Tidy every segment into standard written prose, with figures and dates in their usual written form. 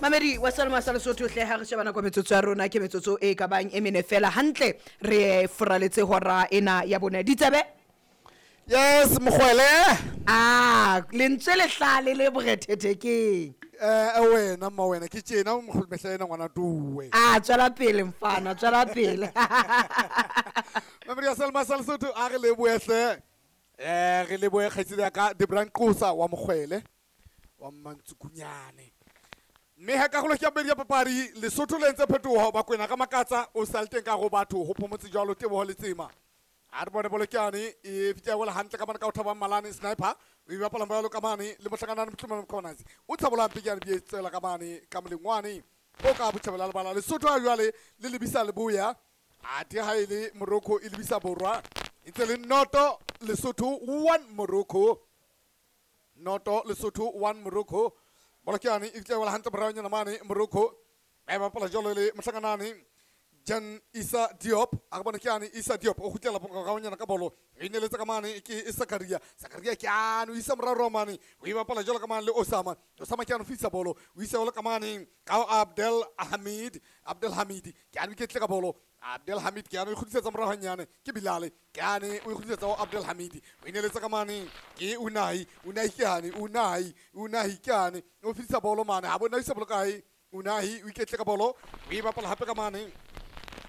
Mamedi wa Salma sa Lesotho hle, ha re sheba nako metsotso ya rona ke metsotso e ka bang e mene fela hantle re furaletse hora ena ya bone. Ditsebe? Yes, mogwele. A lentswe le hlale le borethethe keng? Wena mma wena ke tjena mogolo mehla ena ngwana tuwe. A tswela pele mfana, tswela pele. Mamedi wa Salma sa Lesotho, a re leboehle. Re lebohe kgaitsedi ya ka Debran Qosa wa mogwele wa Mmantsukunyane. Mme ha karolo ke ya bobedi ya papadi, Lesotho le entse phetoho, Bakwena ka makatsa o sa le teng ka go batho ho phomotse jwalo Teboho Letsema. A re bone bolokane e fitla wela hantle ka mane ka o thabang Malane sniper o e bapala jwalo ka mane le mohlakanane mohlomong Mkhwanazi o tshabola mpikane bi tsela ka mane ka molengwane o ka botjhabela lebala. Lesotho ha jwale le lebisa leboya, athe ha e le Morocco e lebisa borwa, e ntse le noto Lesotho 1 Morocco, noto Lesotho 1 Morocco. Bolokane e fitla wela hantle moraonyana mane Morocco ba e bapala jwalo le mohlakanane Jan Isa Diop. A re bone ke ane Isa Diop o kgutlela moraonyana ka bolo, e neletsa ka mane ke Sakaria. Sakaria ke ane o isa morao mane, o e bapala jwalo ka mane le Osama. Osama ke ane o fisa bolo, o isa jwalo ka mane ka Abdel Hamid. Abdel Hamid ke ane o iketle ka bolo. Abdel Hamid ke ane o kgutlisetsa morao hanyane ke Bilal, ke ane o kgutlisetsa ho Abdel Hamid, o ineletsa ka mane ke Unai. Unai ke ane Unai, Unai ke ane o fisa bolo mane, ha bona o isa bolo kae. Unai o iketle ka bolo, o e bapala hape ka mane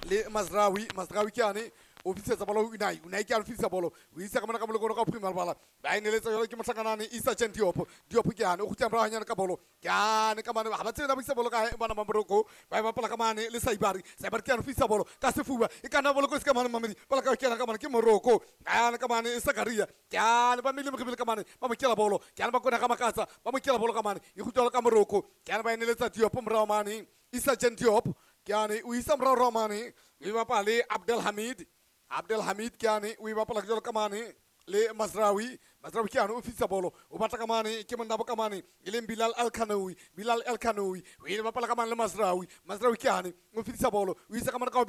le Mazraoui. Mazraoui ke ane o fitisetsa bolo ho Unai. Unai ke ane o fitisa bolo, o isa ka mona ka molekolo ka bophirima lebala, ba e neletsa jwalo ke mohlakanane Isa Chen Diop. Diop ke ane o kgutla morao hanyane ka bolo, ke ane ka mane ha ba tsebe na ba isa bolo kae bana ba Morocco. Ba e bapala ka mane le Saibari. Saibari ke ane o fitisa bolo ka sefuba, e ka nna bolo kotsi ka mane mamedi bolo ka kena ka mane ke Morocco. Ane ka mane Sakaria ke ane ba mele morebele ka mane ba mo kela bolo, ke ane ba kona ka makatsa ba mo kela bolo ka mane e kgutla ka Morocco. Ke ane ba e neletsa Diop morao mane, Isa Chen Diop ke ane o isa morao mane, o e bapala le Abdel Hamid. Abdel Hamid ke ane o e bapala jwalo ka mane le Mazraoui. Mazraoui ke ane o fitisa bolo, o batla ka mane ke monna bo ka mane e leng Bilal El Kanoui. Bilal El Kanoui o e bapala ka mane le Mazraoui. Mazraoui ke ane o fitisa bolo, o isa ka mane ka